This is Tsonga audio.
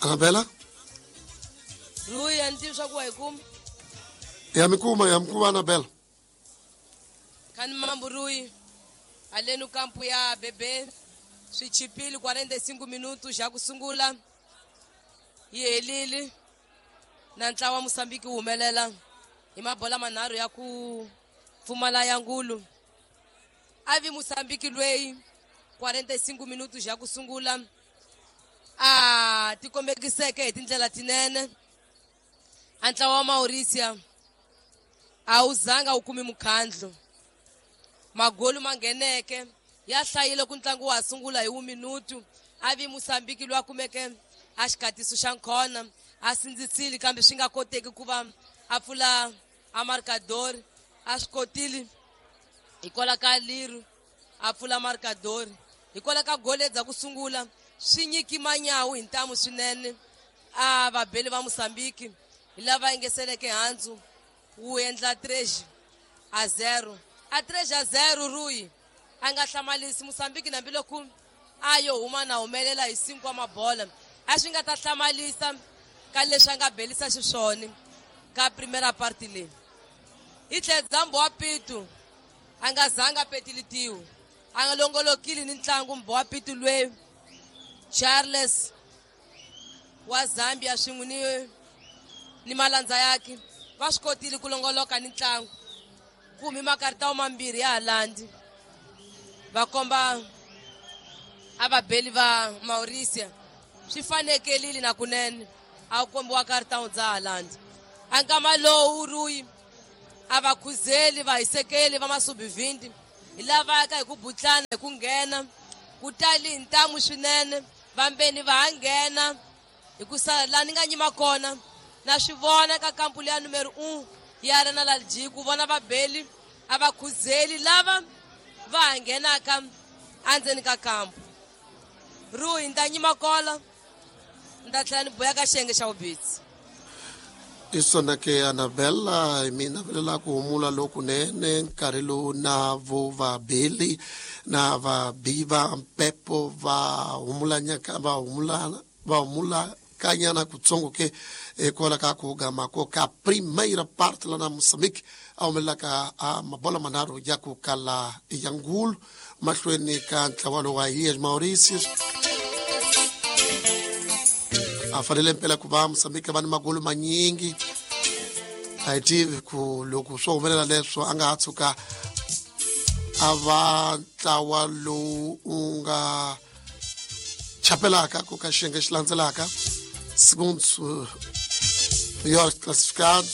Anabela? Rui, a ni tivi swa ku wa yi kuma. Ya mi kuma, ya mi kuma Anabela. Khani mambu Rui, alenu kampu ya bebe swi chipile 45 minutos xa ku sungula yi helile na ntlawa wa Mozambique wu humelela hi mabola manharhu ya ku pfumala ya ngulu. A vi Mozambique lweyi 45 minutos xa ku sungula a tikombekiseke hi tindlela tinene. A ntlawa wa Mauricia a wu zanga wu kumi mukhandlu. Magolu ma ngheneke ya hlayile ku ntlangu wa ha sungula hi wu minutu. A vi Mozambique loyi a kumeke a xikatiso xa nkhona a sindzisile kambe swi nga koteki ku va a pfula a marcador. A swi kotile hikwalaho ka liru a pfula marcador hikwalaho ka gole dza ku sungula swi nyiki manyawu hi ntamu swinene. A vabeli va Mozambique hi lava engeseleke handzu wu endla 3-0. A 3-0 Rui a nga hlamalisi Mozambique hambiloko a yo huma na humelela hi 5 wa mabola. A swi nga ta hlamalisa ka leswi a nga belisa xiswona ka primera parte leyi. Hi tlhela Dzambo wa Pitu a nga zanga petilitiwe, a nga longolokile ni ntlangu Mbo wa Pitu lweyi Charles wa Zambia swin'we ni malandza yakhe va swi kotile ku longoloka ni ntlangu. Kumi makaritawo mambirhi ya Holland va komba a vabeli va Mauricia swi fanekelile na kunene a kombiwa karitawo dza Holland. A nkama lowu Rui a va khuzeli va hisekeli va masubivindi hi lava ka hi ku butlana hi ku nghena ku tali hi ntamu swinene vambeni va ha nghena hi ku sala laha ni nga nyima kona na swi vona ka kampu leya numero 1 ya ri na lalji ku vona vabeli a va khuzeli lava va ha nghenaka endzeni ka kampu. Rui ni ta nyima kola ni ta tlhela ni boya ka xiyenge xa vubitsi. Isona ke Anabella hi mi navelela ku humula lokunene nkarhi lowu na vo vabeli na vabi va mpepo va humulanyaka va humula va humula kanyana kutsongo ke hikwalaho ka ku gama ko ka primeira parte la na Mozambique a humelelaka a mabola manharhu ya ku kala ya ngulu mahlweni ka ntlawa lowu wa Ilhas Mauritius. A fanele mpela ku va Mozambique va ni magolu manyingi. A hi tivi ku loko swo humelela leswo a nga ha tshuka a va ntlawa lowu wu nga chapelaka ku ka xiyenge xi landzelaka, segundo melhor classificado.